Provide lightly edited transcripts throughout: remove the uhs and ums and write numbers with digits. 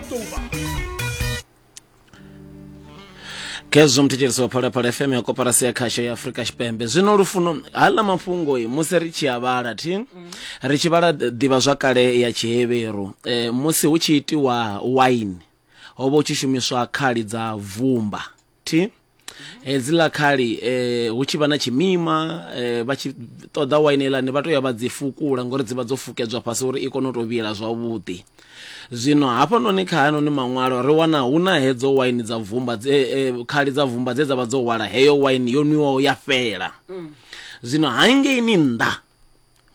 October. Khezwo muthetshelesi wa Phalaphala FM ya koporasi ya khasho ya Afrika Tshipembe. Zwino lufuno haḽa mafhungo musi ri tshi a vhala thi ri tshi vhala ḓivhazwakale ya Tshihevheru eh, musi hu tshi itiwa wine ho vha hu tshi shumiswa khali dza vumba thi hedziḽa khali eh, hu tshi vha na tshimima eh, vha tshi ṱoḓa waini heiḽani vha to ya vha dzi fukula ngori dzi vha dzo fukedzwa fhasi uri i kone u to vhila zwavhuḓi. Zwino hafhanoni kha hanoni maṅwalo ri wana hu na hedzo waini dza vumba dze eh, khali dza vumba dze dza vha dzo hwala heyo waini yo nwiwaho ya fhela. Zwino hangeini nnḓa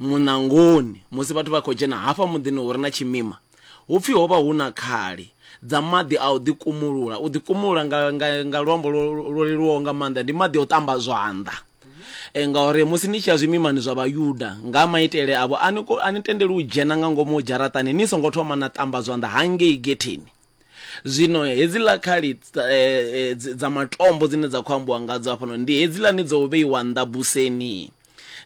muṋangoni musi vhathu vha khou dzhena hafha muḓini hu re na tshimima hu pfi ho vha hu na khali dza maḓi a u ḓikumulula. U ḓikumulula nga, nga, nga luambo lwo leluwaho nga maanḓa ndi maḓi a u ṱamba zwanḓa. E, ngauri musi ni tshi ya zwimimani zwa Vhayuda nga maitele avho a ni, a ni tendeli u dzhena nga ngomu dzharaṱani ni songo thoma na ṱamba zwanḓa hangei getheni. Zwino hedziḽa khali dza matombo dzine dza khou ambiwa ngadzo hafhano ndi hedziḽani dzo vheiwa nnḓa buseni,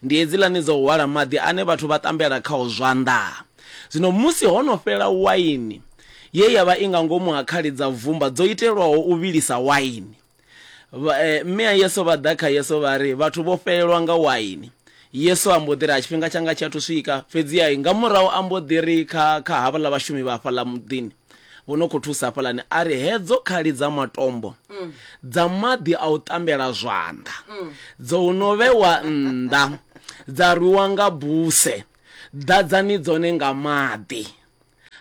ndi hedziḽani dzo hwala maḓi ane vhathu vha ṱambela khao zwanḓa. Zwino musi ho no fhela waini ye ya vha i nga ngomu ha khali dza vumba dzo itelwaho u vhilisa waini, Mme a Yesu vha ḓa kha Yesu vha ri, Vhathu vho fhelelwa nga waini. Yesu a mbo ḓi ri, Ha, tshifhinga tshanga tshi athu swika. Fhedzi-ha nga murahu a mbo ḓi ri kha, kha havhaḽa vhashumi vha hafhaḽa muḓini vho no khou thusa hafhaḽani, a ri, Hedzo khali dza matombo dza maḓi a u ṱambela zwanḓa dzo no vhewa nnḓa, dza rwiwa nga buse, ḓadzani dzone nga maḓi.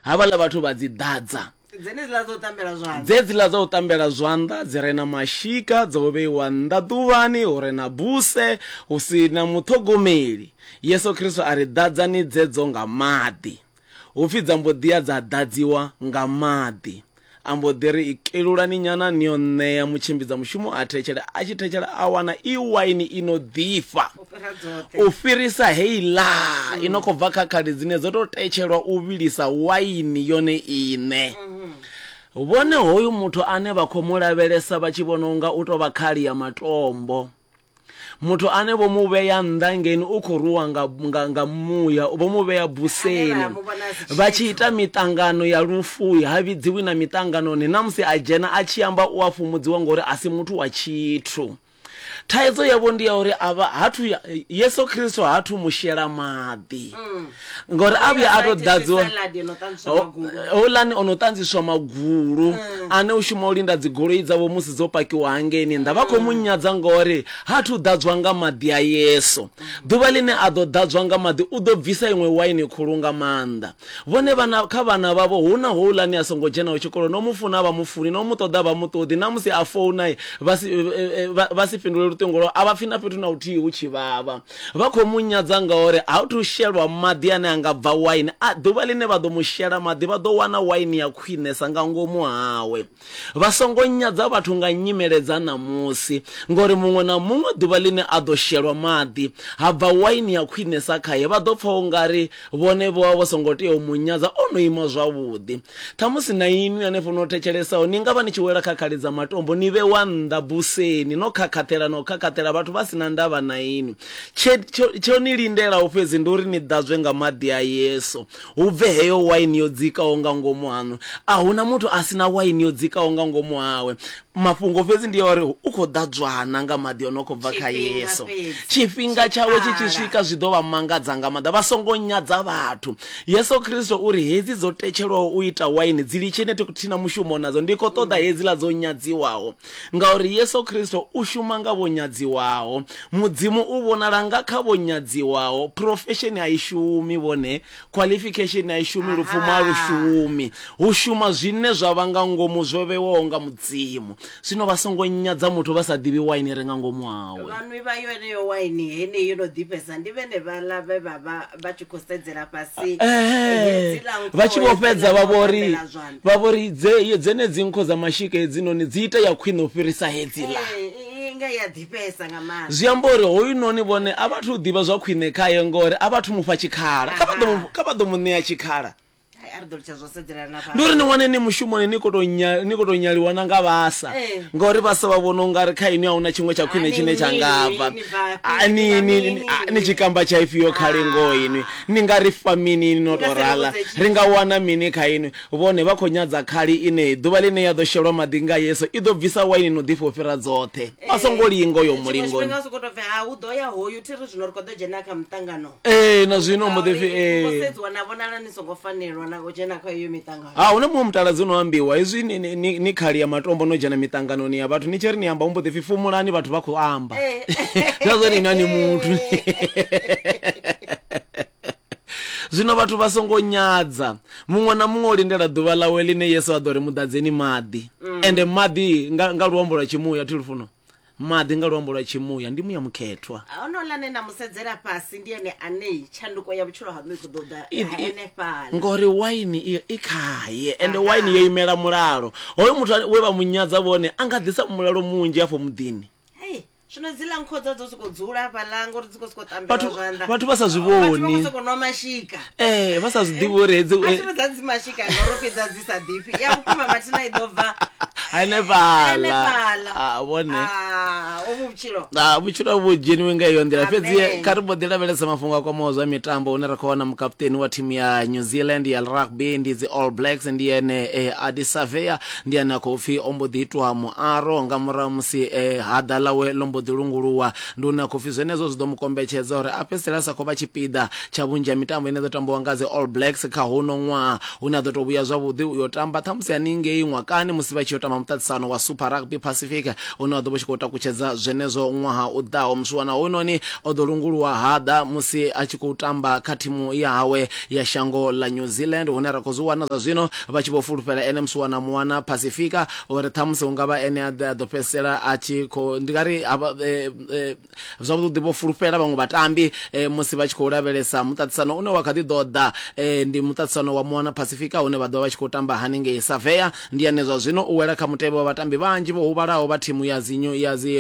Havhaḽa vhathu vha dzi ḓadza. Dzenedziḽa dza u ṱambela zwanḓa. Dzedziḽa dza u ṱambela zwanḓa dzi re na mashika dzo vheiwa nnḓa ḓuvhani hu re na buse, hu si na muṱhogomeli. Yesu Kristo a ri, Ḓadzani dzedzo nga maḓi. Hu pfi dza mbo ḓi ya dza ḓadziwa nga maḓi. A mbo ḓi ri, Kelulani nyana ni yo ṋea mutshimbidza mushumo a thetshele. A tshi thetshela a wana i waini i no ḓifha u fhirisa heiḽa i no khou bva kha khali dzine dzo tou tetshelwa u vhilisa waini yone iṋe. Vhone hoyu muthu ane vha khou mu lavhelesa vha tshi vhona unga u tou vha khali ya matombo, Muthu ane vho mu vhea nnḓa ngeini u khou rwiwa nga, nga, nga muya, vho mu vhea buseni. Vha tshi ita miṱangano ya lufu, ha vhidziwi na miṱanganoni, na musi a dzhena a tshi amba u a fhumudziwa ngori a si muthu wa tshithu. Thaidzo yavho ndi ya uri a vha hathu Yesu Kristo hathu mu shela maḓi. Ngori a vhuya a tou ḓadziwa houḽani o no ṱanziswa magulu ane u shuma u linda dzigoloi dzavho musi dzo pakiwa hangeini nnḓa vha khou mu nyadza ngori ha thu ḓadzwa nga maḓi a Yesu. Ḓuvha ḽine a ḓo ḓadzwa nga maḓi u ḓo bvisa iṅwe waini khulu nga maanḓa. Vhone vhana kha vhana vhavho hu na houḽani a songo dzhenaho tshikolo no mu funa a vha mu funi no mu ṱoḓa a vha mu ṱoḓi na musi a founa vha si vha si fhindule luṱingo lwawe a vha pfi na fhethu na huthihi hu tshi vhavha. Vha khou mu nyadza ngauri ha thu shelwa maḓi ane a nga bva waini. A, ḓuvha ḽine vha ḓo mu shela maḓi, vha ḓo wana waini ya khwinesa nga ngomu hawe. Vha songo nyadza vhathu nga nyimele dza ṋamusi, ngauri muṅwe na muṅwe ḓuvha ḽine a ḓo shelwa maḓi, ha bva waini ya khwinesa khae, vha ḓo pfa u nga ri vhone vho vha vho songo tea u mu nyadza, o no ima zwavhuḓi. Ṱhamusi na inwi hanefho no thetshelesaho ni nga vha ni tshi wela kha khali dza matombo, ni vhewa nnḓa buseni, no khakhaṱhela na u khakhaṱhela vhathu vha si na ndavha na inwi. Tshe, tsho, tsho ni lindelaho fhedzi ndi uri ni ḓadzwe nga maḓi a Yesu, hu bve heyo waini yo dzikaho nga ngomu haṋu. A hu na muthu a si na waini yo dzikaho nga ngomu hawe. Mafhungo fhedzi ndi a uri u khou ḓadzwana nga maḓi o no khou bva kha Yesu. Tshifhinga tshawe tshi tshi swika zwi ḓo vha mangadza nga maanḓa. Vha songo nyadza vhathu. Yesu Kristo u ri, Hedzi dzo tetshelwaho u ita waini dzi litsheni thi na mushumo nadzo, ndi khou ṱoḓa hedziḽa dzo nyadziwaho. Ngauri Yesu Kristo u shuma nga vho nyadziwaho. Mudzimu u vhonala nga kha vho nyadziwaho. Phurofesheni a i shumi vhone. Qualification a i shumi, lupfumo a lu shumi. Hu shuma zwine zwa vha nga ngomu zwo vhewaho nga Mudzimu. Zwino vha songo nyadza muthu vha sa ḓivhi waini i re nga ngomu hawe. Vhanwi vha yeneyo waini heneyi yo no ḓifhesa ndi vhene vhaḽa vhe vha vha vha tshi khou sedzela fhasi hedziḽa nkho, Vha tshi vho fhedza vha vho ri, hedziḽa zwanḓa. vha vho ri dze, dzenedzi nkho dza mashika hedzinoni dzi ita ya khwine u fhirisa hedziḽa. Ee, i nga i a ḓifhesa nga maanḓa. Zwi amba uri hoyunoni vhone a vha thu ḓivha zwa khwine khae ngori a vha thu mu fha tshikhala. Kha vha ḓo mu, kha vha ḓo mu ṋea tshikhala. Hai, a ri ḓo litsha zwo sedzelana na Ndi uri ni wane ni mushumoni ni khou tou nya- ni khou tou nyaliwa na nga vhasa Eh. ngori vhasa vha vhona ungari kha inwi a huna tshiṅwe tsha khwine Ah, ni tshine tsha nga mini, bva ni bvafhi, Ah, ni ni bva ni mini. ah, ni tshikamba tsha ifhio khali ngoho inwi ni nga ri fa mini no Ni nga tou si ri rala vhudze tshithu. ri nga wana mini kha inwi vhone vha khou nyadza khali ine ḓuvha ḽine ya ḓo shelwa maḓi nga yesu i ḓo bvisa waini no ḓifha u fhira dzoṱhe vha songo linga uyo Tshiṅwe mulingoni tshifhinga u sokou tou pfi ha hu ḓo ya hoyu thi ri zwino ri khou ḓo dzhena kha muṱangano ee na zwino mbo ḓi pfi Ngauri ee sedziwa na vhonala ni songo fanelwa na u dzhena kha iyo miṱangano ha huna muṅwe mutaladzi uno ambiwa hezwi ni, ni, ni, ni khali ya matombo no dzhena miṱanganoni ya vhathu ni tshi ri ni amba hu mbo ḓi pfi fumulani vhathu vha khou amba Eh. zwa zwone inwi a ni muthu zwino vhathu vha songo nyadza muṅwe na muṅwe o lindela ḓuvha ḽawe ḽine yesu a ḓo ri muḓadzeni maḓi ende maḓi nga, nga luambo lwa tshimuya thi lufuno maḓi nga luambo lwa tshimuya ndi muya mukhethwa honouḽa ane na mu sedzela fhasi ndi ene ane tshanduko ya vhutshilo haṋu i khou ḓo ḓa henefhaḽa ngori waini i i khaye ende waini yo imela mulalo hoyo muthu we vha mu nyadza vhone a nga ḓisa mulalo munzhi afho muḓini hei zwino dziḽa nkhodza dzo sokou dzula hafhaḽa ngori dzi khou sokou tambela Vhathu- zwanḓa vhathu vha sa zwi Vhathu vha khou vhoni. sokou nwa mashika ee vha sa zwi ḓivhi uri hedzi a thi ri dza dzi mashika ngauri fhedza dzi sa ḓifhi ya vhukuma mathina i ḓo bva hanefhaḽa henefhaḽa Ah, vhone Ah, uvhu vhutshilo Ah, vhutshilo vhu dzheniwe nga iyo nḓila fhedzi Amen. kha ri mbo ḓi lavhelesa mafhungo a kwamaho zwa mitambo hune ra khou wana mukaputeni wa thimu ya new zealand ya rugby ndi dzi all blacks ndi ene eh, adi savea ndi ane a khou pfi o mbo ḓi itwa muaro nga murahu musi eh, haḓa ḽawe ḽo mbo ḓi lunguluwa ndi hune a khou pfi zwenezwo zwi ḓo mu kombetshedza uri a fhedzisele a sa khou vha tshipiḓa tsha vhunzhi ha mitambo ine ya ḓo tambiwa nga dzi all blacks kha huno ṅwaha hune a ḓo tou vhuya zwavhuḓi u yo tamba ṱhamusi haningei ṅwakani musi vha tshi yo tamba muṱaṱisano wa Super Rugby Pacific une wa ḓo vha u tshi khou takutshedza zwenezwo ṅwaha u ḓaho. Muswiwana hoyunoni o ḓo lunguluwa haḓa musi a tshi khou tamba kha thimu ya hawe ya shango ḽa New Zealand hune ra khou zwi wana zwa zwino vha tshi vho fulufhela ene Muswiwana Moana Pasifika uri ṱhamusi hu nga vha ene a ḓo fhedzisela a tshi khou ndi nga ri Zwavhuḓi vho fulufhela vhaṅwe vhatambi musi vha tshi khou lavhelesa muṱaṱisano une wa kha ḓi ḓo ḓa. Ndi muṱaṱisano wa Moana Pasifika hune vha ḓo vha vha tshi khou tamba haningei. Savea ndi ane zwa zwino u wela kha mutevhe wa vhatambi vhanzhi vho huvhalaho vha thimu ya dzi ya dzi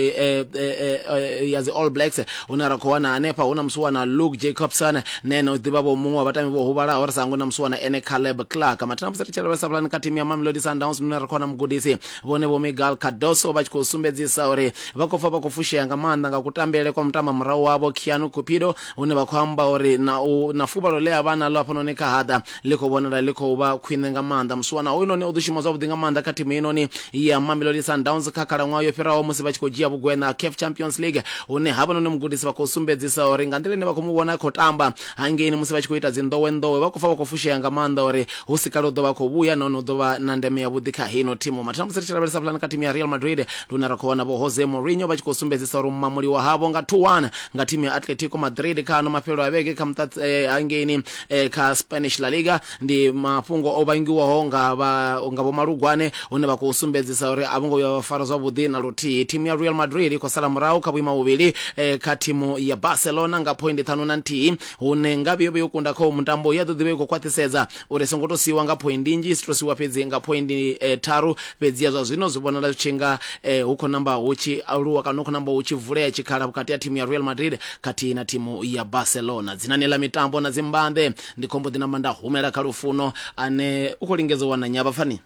ya dzi All Blacks hune ra khou wana hanefha hu na musiwana Luke Jacobson na ene u ḓivha vho muṅwe wa vhatambi vho huvhalaho ri sa hangwi na musiwana ene Caleb Clark. Mathina musi ri tshi lavhelesa hafhaḽani kha thimu ya Mamelodi Sundowns hune ra khou wana mugudisi vhone vho Miguel Cardoso vha tshi khou sumbedzisa uri vha khou pfa vha khou fushea nga maanḓa nga kutambele kwa mutamba murahu wavho Keanu Cupido, hune vha khou amba uri na u na fuvhalo ḽe a vha naḽo hafhanoni kha haḓa ḽi khou vhonala ḽi khou vha khwine nga maanḓa. Musiwana hoyunoni o ḓo shuma zwavhuḓi nga maanḓa kha thimu heinoni ya Mamelodi Sundowns kha khalaṅwaha yo fhiraho musi vha tshi khou dzhia vhugwena CAF Champions League, hune havhanoni mugudisi vha khou sumbedzisa uri nga nḓila ine vha khou mu vhona a khou tamba hangeini musi vha tshi khou ita dzi nḓowenḓowe vha khou pfa vha khou fushea nga maanḓa uri hu si kale u ḓo vha khou vhuya nahone u ḓo vha na ndeme yavhuḓi kha heino thimu. Mathina musi ri tshi lavhelesa pulane kha thimu ya Real Madrid ndi hune ra khou wana vho Jose Mourinho vha tshi khou sumbedzisa uri mamuliwa havho nga 2-1 nga thimu ya Atletico Madrid kha ano mafhelo a vhege kha muṱa eh, hangeini eh, kha Spanish La Liga ndi mafhungo o vhangiwaho nga vha nga vho Malugwane hune vha khou sumbedzisa uri a vho ngo vhuya vha fara zwavhuḓi na luthihi. Thimu ya Real Madrid i khou sala murahu kha vhuimo vhuvhili eh, kha thimu ya Barcelona nga phoindi 51 hune ngavhe yo vha yo kunda kha mutambo ya ḓo ḓivha i khou khwaṱhisedza uri songo to siwa nga phoindi nnzhi si to siwa fhedzi nga phoindi eh, tharu fhedzi ya zwa zwino zwi vhonala zwi tshi nga eh, hu khou namba hu tshi aluwa kana hu khou namba hu tshi vulea tshikhala vhukati ha thimu ya Real Madrid khathihi na thimu ya Barcelona. Dzinani ḽa mitambo na dzimbanḓe ndi khombo ḓi namba nda humela kha Lufuno ane u khou lingedza u wana nyavha pfani.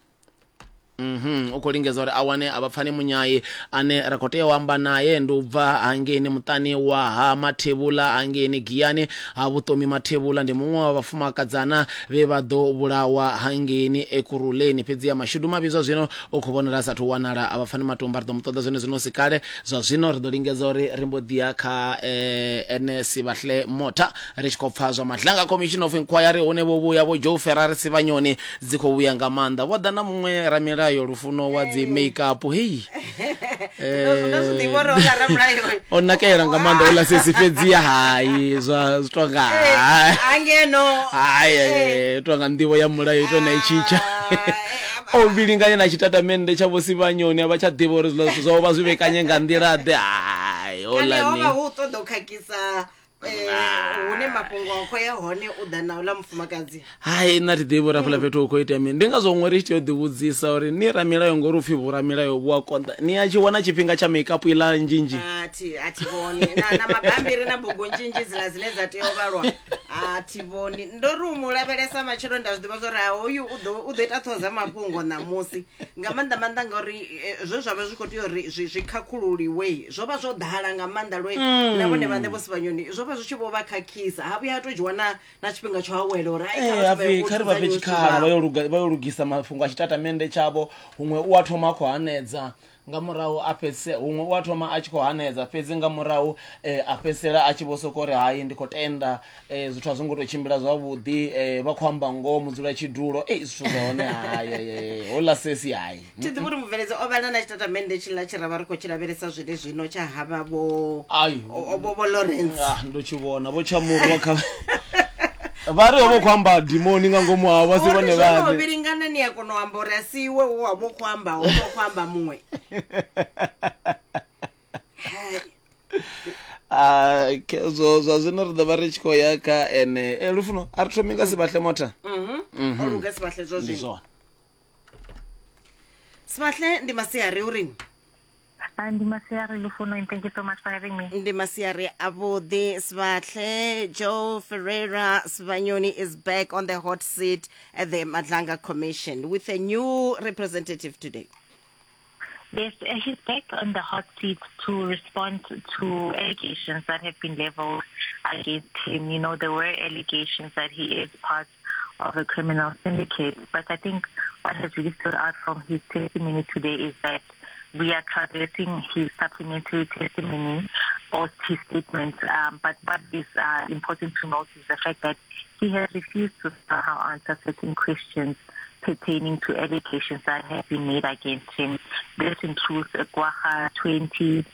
Mhm, u khou lingedza uri a wane a vhapfani munyai ane ra khou tea u amba naye ndi u bva hangeini muṱani wa ha Mathevhula hangeini Giyani ha Vhuṱomi Mathevhula ndi muṅwe wa vhafumakadzana vhe vha ḓo vhulawa hangeini Ekurhuleni fhedzi ya mashudu mavhi zwa zwino u khou vhonala a sathu wanala a vhapfani matumba ri ḓo mu ṱoḓa zwone zwino si kale zwa zwino ri ḓo lingedza uri ri mbo ḓi ya kha eh, ene Sivhahle Motha ri tshi khou pfa zwa Madlanga Commission of Inquiry hune vho vhuya vho Joe Ferrari Sivhanyoni dzi khou vhuya nga maanḓa vho ḓa na muṅwe ramilayo lufuno wa dzi makeup hei ndo zwi ḓivha uri houḽa ramulayo o nakela nga maanḓa ola sesi fhedzi hai zwa zwi tonga hangeno hai eh, tonga nḓivho ya mulayo ito na itshitsha o vhilinganye na tshitatamennde tsha vho Sivhanyoni a vha tsha ḓivha uri zwiḽa zwithu zwavho vha zwi vhekanye nga nḓila ḓe hai kane ho holani vha hu u ṱoḓa u khakhisa Hune mafhungo a khou ya hone u ḓa na uḽa mufumakadzi. Hai, nṋe a thi ḓivhi uri hafhaḽa fhethu hu khou itea mini. Ndi ngazwo huṅwe ri tshi tea u ḓivhudzisa uri ni ramilayo ngori upfhi vhoramilayo vhu a konḓa, ni a tshi wana tshifhinga tsha makeup iḽa nzhinzhi? A thi a thi vhoni na, na mabambiri na bugu nzhinzhi dziḽa dzine dza tea u vhalwa a thi vhoni. Ndo ri u mu lavhelesa matshelo nda zwi ḓivha zwa uri ha hoyu u ḓo u ḓo ita ṱhoho dza mafhungo ṋamusi nga maanḓa maanḓa ngauri zwe zwa vha zwi khou tea uri zwi zwi khakhululiwe zwo vha zwo ḓala nga maanḓa lwe na vhone vhaṋe vho Sibanyoni zwo vha zwi tshi vho vha khakhisa ha vhuya ha tou dzhiwa na na tshifhinga tsho awela uri hai, kha Ee, vhathu hapfi vha kha ri vha fhe dzudzanye zwithu tshikhala zwavho. vha yo luga vha yo lugisa mafhungo a tshitatamennde tshavho huṅwe u a thoma a khou hanedza nga murahu a fhedzise huṅwe u a thoma a tshi khou hanedza fhedzi nga murahu a fhedzisela a tshi vho soko ri hai ndi khou tenda zwithu a zwo ngo tou tshimbila zwavhuḓi vha khou amba ngoho mudzulatshidulo ei zwithu zwa hone hai houḽa sesi hai. Thi ḓivhi uri mubveledzi o vhala na tshitatamennde tshiḽa tshe ra vha ri khou tshi lavhelesa zwene zwino tsha havha vho Ai. vho vho Lawrence. Ah, ndo tshi vhona vho tshamurwa kha vha ri ho vha khou amba dimoni nga ngomu havho vha si Uri vhone zwo no vhaṋe. vhilingana ni a kona u amba uri a si iwe wo wa vho khou amba ho vha khou amba muṅwe. Hai. Ah, khezwo zwa zwino ri ḓo vha ri tshi khou ya kha ene e lufuno a ri thomi nga Sibahle Motha. Mhm. O luga Sibahle zwa Ndi zwino. zwone. Sibahle ndi masiari uri Ndi masiari Lufuno and thank you so much for having me. Ndi masiari avhuḓi Sibahle. Joe Ferreira Sibanyoni is back on the hot seat at the Madlanga Commission with a new representative today. Yes, he's back on the hot seat to respond to allegations that have been leveled against him. You know, there were allegations that he is part of a criminal syndicate, but I think what has really stood out from his testimony today is that we are traversing his supplementary testimony or his statement. But what is important to note is the fact that he has refused to somehow answer certain questions pertaining to allegations that have been made against him. This includes Kwagga 20,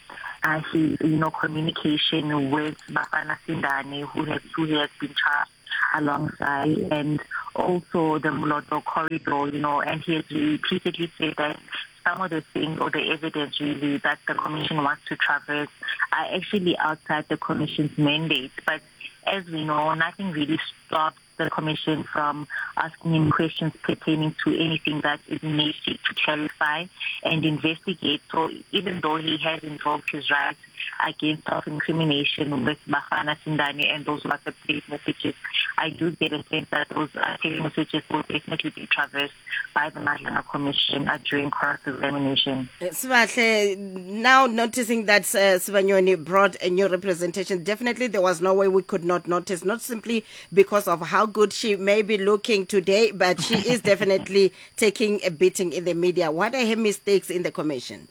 his, you know, communication with Bafana Sindane, who has been charged alongside, and also the Moloto corridor, you know, and he has repeatedly said that some of the things or the evidence really that the commission wants to traverse are actually outside the commission's mandate. But as we know, nothing really stops the commission from asking him questions pertaining to anything that it may seek to clarify and investigate. So even though he has invoked his rights against self-incrimination with Bafana Sindane and those WhatsApp text messages, I do get a sense that those text messages will definitely be traversed by the Madlanga Commission during cross-examination. Sibahle, now noticing that Sibanyoni brought a new representation, definitely there was no way we could not notice, not simply because of how good she may be looking today, but she is definitely taking a beating in the media. What are her mistakes in the commission?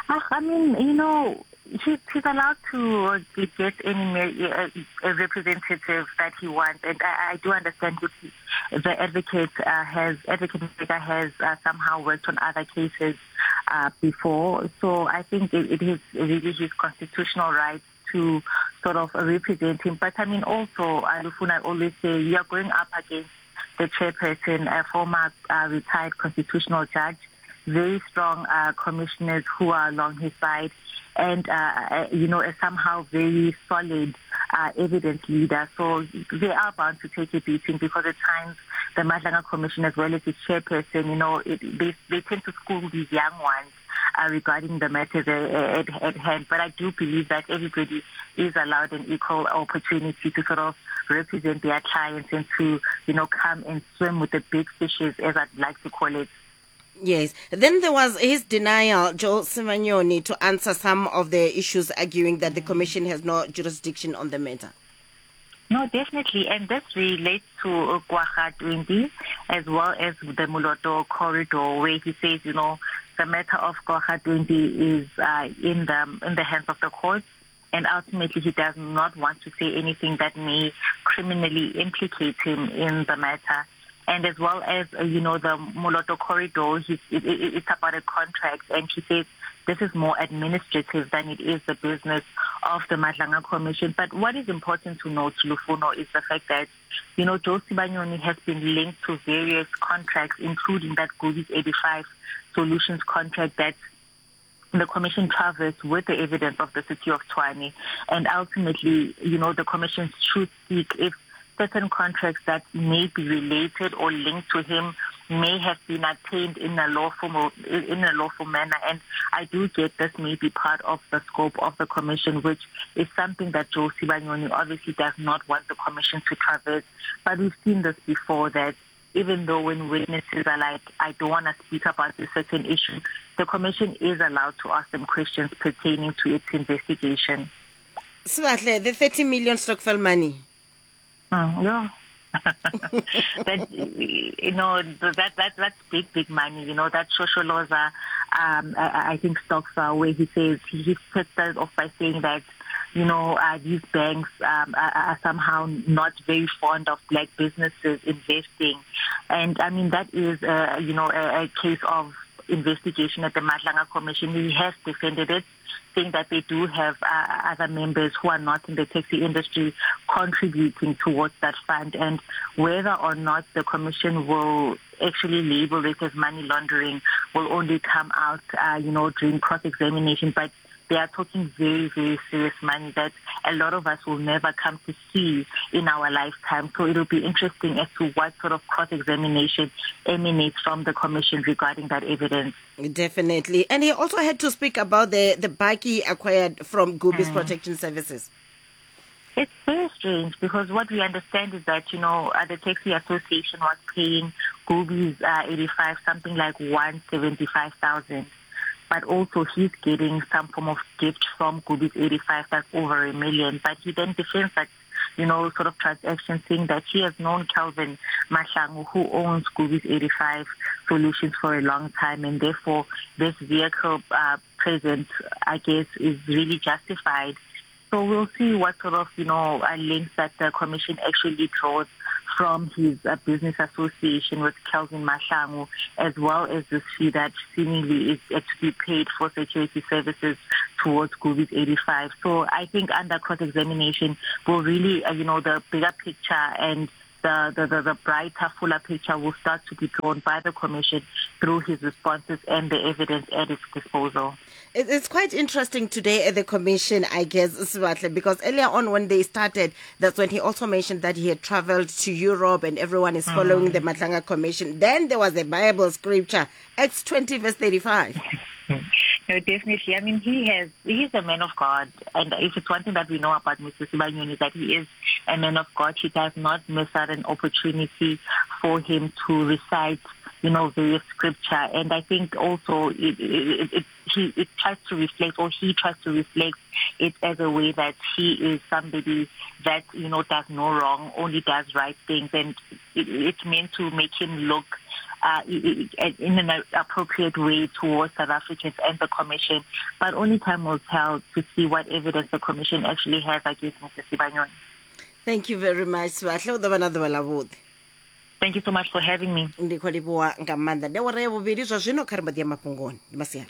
I mean, you know, he's allowed to get any representative that he wants, and I do understand that the advocate has somehow worked on other cases before. So I think it is really his constitutional right to sort of represent him. But I mean, also, Lufuno, I always say you are going up against the chairperson, a former retired constitutional judge, very strong commissioners who are along his side, and, you know, a somehow very solid evidence leader. So they are bound to take a beating because at times the Madlanga Commission, as well as its chairperson, you know, they tend to school these young ones regarding the matters at hand. But I do believe that everybody is allowed an equal opportunity to sort of represent their clients and to, you know, come and swim with the big fishes, as I'd like to call it. Yes. Then there was his denial, Joe Sibanyoni, to answer some of the issues, arguing that the commission has no jurisdiction on the matter. No, definitely. And this relates to Kwagga 20 as well as the Moloto corridor, where he says, you know, the matter of Kwagga 20 is in the hands of the courts. And ultimately, he does not want to say anything that may criminally implicate him in the matter. And as well as, you know, the Moloto corridor, it's about a contract. And he says this is more administrative than it is the business of the Madlanga Commission. But what is important to note, Lufuno, is the fact that, you know, Joe Sibanyoni has been linked to various contracts, including that Goodies 85 Solutions contract that the commission traversed with the evidence of the city of Tshwane. And ultimately, you know, the commission should seek if certain contracts that may be related or linked to him may have been attained in a lawful manner. And I do get this may be part of the scope of the commission, which is something that Joe Sibanyoni obviously does not want the commission to traverse. But we've seen this before, that even though when witnesses are like, I don't want to speak about this certain issue, the commission is allowed to ask them questions pertaining to its investigation. Sibahle, the 30 million stokvel money. Yeah. That, you know, that's big, big money. You know, that Shosholoza, I think stokvel, where he says, he started off by saying that, you know, these banks are somehow not very fond of black businesses investing. And, I mean, that is, you know, a case of investigation at the Madlanga Commission. He has defended it, saying that they do have other members who are not in the taxi industry contributing towards that fund. And whether or not the commission will actually label it as money laundering will only come out, you know, during cross-examination. But they are talking very, very serious money that a lot of us will never come to see in our lifetime. So it will be interesting as to what sort of cross-examination emanates from the commission regarding that evidence. Definitely. And he also had to speak about the bakkie acquired from Gubis Protection Services. It's very strange, because what we understand is that, you know, the Taxi Association was paying Gubis 85, something like 175,000. But also he's getting some form of gift from Gubis 85 that's over $1 million. But he then defends that, you know, sort of transaction, saying that he has known Kelvin Mahlangu, who owns Gubis 85 Solutions, for a long time, and therefore this vehicle present, I guess, is really justified. So we'll see what sort of, you know, links that the commission actually draws from his business association with Kelvin Mahlangu, as well as this fee that seemingly is to be paid for security services towards Gubis 85. So I think under cross-examination will really, you know, the bigger picture and the brighter, fuller picture will start to be drawn by the commission through his responses and the evidence at its disposal. It's quite interesting today at the commission, I guess, Sibahle, because earlier on when they started, that's when he also mentioned that he had traveled to Europe and everyone is following the Madlanga Commission. Then there was a Bible scripture, Acts 20 verse 35. No, definitely. I mean, he's a man of God. And if it's one thing that we know about Mr. Sibanyoni is that he is a man of God. He does not miss out an opportunity for him to recite, you know, various scripture. And I think also it tries to reflect, or he tries to reflect it as a way that he is somebody that, you know, does no wrong, only does right things. And it's meant to make him look in an appropriate way towards South Africans and the commission. But only time will tell to see what evidence the commission actually has against Mr. Sibanyoni. Thank you very much. Thank you so much for having me. Ndi khou livhuwa nga maanḓa. Ndi awara ya vhuvhili zwa zwino kha ri mbo ḓi ya mafhungoni. Ndi masiari.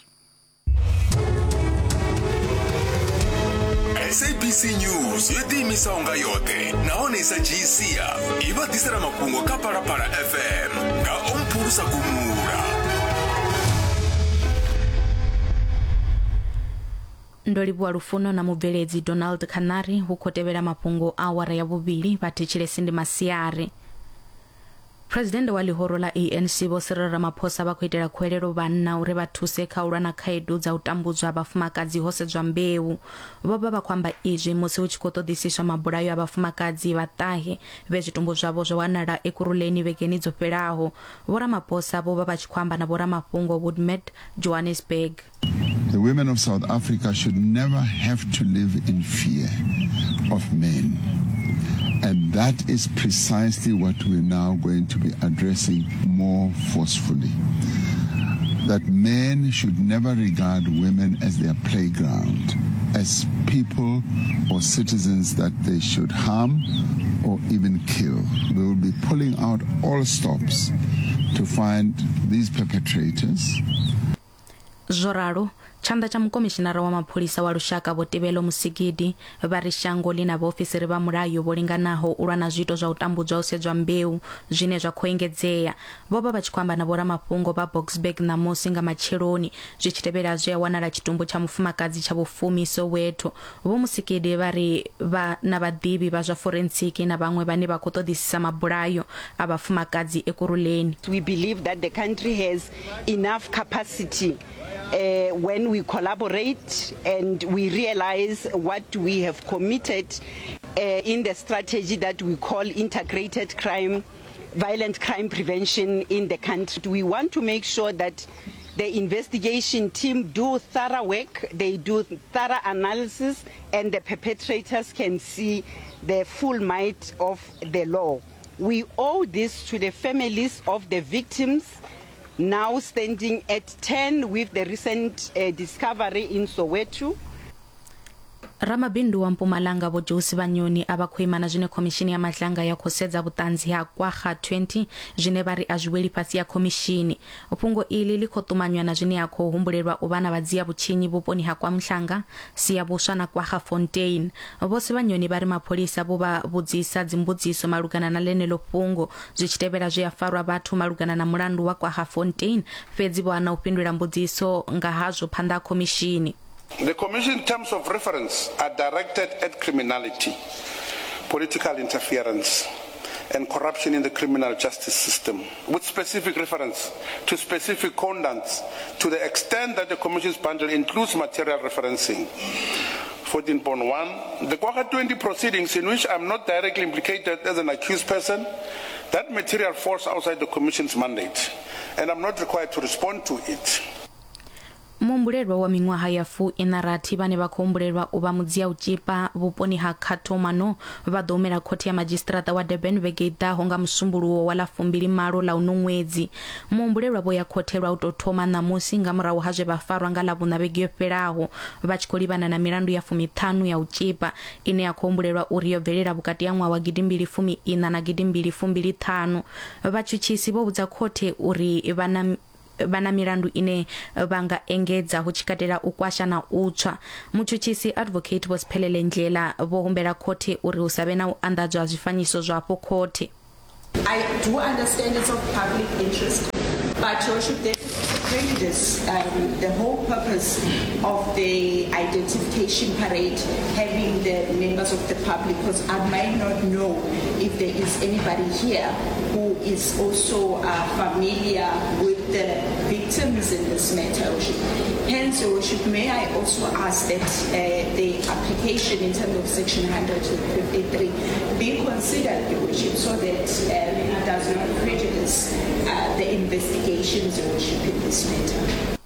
SABC News yo ḓiimisaho nga yoṱhe nahone i sa dzhii sia i vha ḓisela mafhungo kha Phalaphala FM nga Omphulusa Gumula. Ndo livhuwa Lufuno na mubveledzi Donald Khanari. Hu khou tevhela mafhungo a awara ya vhuvhili. Vha thetshelesi ndi masiari. President wa ḽihoro ḽa ANC Vho Cyril Ramaphosa vha khou itela khuwelelo vhanna uri vha thuse kha u lwa na khaedu dza u tambudzwa vhafumakadzi ho sedzwa mbeu. Vho vha vha khou amba izwi musi hu tshi khou ṱoḓisiswa mabulayo a vhafumakadzi vha ṱahe vhe zwitumbu zwavho zwo wanala Ekurhuleni vhegeni dzo fhelaho. Vho Ramaphosa vho vha vha tshi khou amba na vhoramafhungo Woodmead, Johannesburg. The women of South Africa should never have to live in fear of men. And that is precisely what we're now going to be addressing more forcefully. That men should never regard women as their playground, as people or citizens that they should harm or even kill. We will be pulling out all stops to find these perpetrators. Zwo ralo, tshanḓa tsha mukomishinara wa mapholisa wa lushaka Vho Tebello Musigidi vha ri shango ḽi na vhaofisiri vha mulayo vho linganaho u lwa na zwiito zwa u tambudzwa ho sedzwa mbeu zwine zwa khou engedzea. Vho vha vha tshi khou amba na vhoramafhungo vha Boksburg ṋamusi nga matsheloni zwi tshi tevhela zwe ha wanala tshitumbu tsha mufumakadzi tsha vhufumi Soweto. Vho Musigidi vha ri vha na vhaḓivhi vha zwa forentsiki na vhaṅwe vhane vha khou ṱoḓisisa mabulayo a vhafumakadzi Ekurhuleni. We believe that the country has enough capacity uh, when we collaborate and we realize what we have committed uh, in the strategy that we call integrated crime, violent crime prevention in the country. We want to make sure that the investigation team do thorough work, they do thorough analysis, and the perpetrators can see the full might of the law. We owe this to the families of the victims, now standing at 10 with the recent uh, discovery in Soweto. Ramabindu wa Mpumalanga Vho Joe Sibanyoni a vha khou ima na zwine khomishini ya Madlanga ya khou sedza vhuṱanzi ha Kwagga 20 zwine vha ri a zwi weli fhasi ya khomishini. Fhungo iḽi ḽi khou ṱumanywa na zwine ha khou humbulelwa u vha na vhadzia vhutshinyi vhuponi ha Kwamhlanga, Siyabuswa na Kwaggafontein. Vho Sibanyoni vha ri mapholisa vho vha vhudzisa dzimbudziso malugana na ḽeneḽo fhungo zwi tshi tevhela zwe ha farwa vhathu malugana na mulandu wa Kwaggafontein fhedzi vho hana u fhindula mbudziso nga hazwo phanḓa ha khomishini. The Commission terms of reference are directed at criminality, political interference, and corruption in the criminal justice system, with specific reference to specific conducts to the extent that the Commission's bundle includes material referencing. 14.1 The Kwagga 20 proceedings, in which I'm not directly implicated as an accused person, that material falls outside the Commission's mandate, and I'm not required to respond to it. Muhumbulelwa wa miṅwaha ya fu-iṋa-rathi vhane vha khou humbulelwa u vha mudzia-u-tshipa vhuponi ha Cato Manor vha ḓo humela khothe ya madzhisiṱiraṱa wa Durban vhege i ḓaho nga Musumbuluwo wa ḽa 28 ḽa uno ṅwedzi. Muhumbulelwa vho ya khothe lwa u tou thoma ṋamusi nga murahu ha zwe vha farwa nga Ḽavhuṋa vhege yo fhelaho vha tshi khou livhana na milandu ya fumiṱhanu ya u tshipa ine ya khou humbulelwa uri yo bvelela vhukati ha ṅwaha wa gidimbili fumi iṋa na gidimbili fumbili ṱhanu. Vhatshutshisi vho vhudza khothe uri vha na vha na milandu ine vha nga engedza hu tshi katela u kwasha na u tswa. Mutshutshisi Advocate Vho Siphelele Ndlela vho humbela khothe uri hu sa vhe na u anḓadzwa ha zwifanyiso zwa afho khothe. I do understand it's of public interest, but Your Worship, there is also prejudice. Um, the whole purpose of the identification parade, having the members of the public, because I might not know if there is anybody here who is also uh, familiar with the victims in this matter, Your Worship. Hence, Your Worship, may I also ask that uh, the application in terms of Section 153 be considered, Your Worship, so that um, it does not prejudice uh, the investigations, Your Worship, in this matter.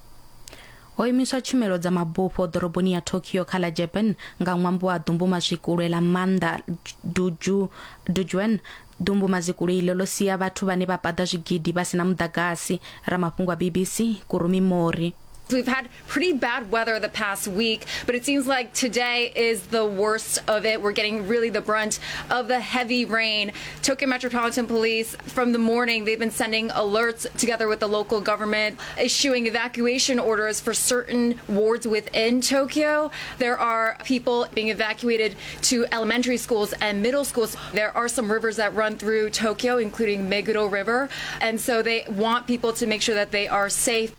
Ho imiswa tshumelo dza mabufho ḓoroboni ya Tokyo kha ḽa Japan nga ṅwambo wa ḓumbumazwikule ḽa maanḓa Duju, Dujuan. Ḓumbumazikulu iḽo ḽo sia vhathu vhane vha paḓa zwigidi vha si na muḓagasi. Ramafhungo a BBC, Kurumi Mori. We've had pretty bad weather the past week, but it seems like today is the worst of it. We're getting really the brunt of the heavy rain. Tokyo Metropolitan Police, from the morning, they've been sending alerts together with the local government, issuing evacuation orders for certain wards within Tokyo. There are people being evacuated to elementary schools and middle schools. There are some rivers that run through Tokyo, including Meguro River, and so they want people to make sure that they are safe.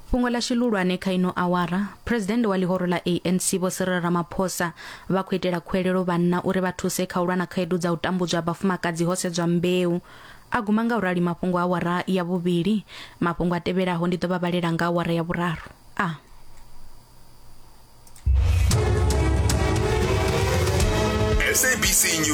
Fhungo ḽa shilulwane kha ino awara, Phresidennde wa ḽihoro ḽa ANC Vho Cyril Ramaphosa vha khou itela khuwelelo vhanna uri vha thuse kha u lwa na khaedu dza u tambudzwa ha vhafumakadzi ho sedzwa mbeu. A guma nga u rali mafhungo a awara ya vhuvhili. Mafhungo a tevhelaho ndi ḓo vha vhalela nga awara ya vhuraru. A. SABC News.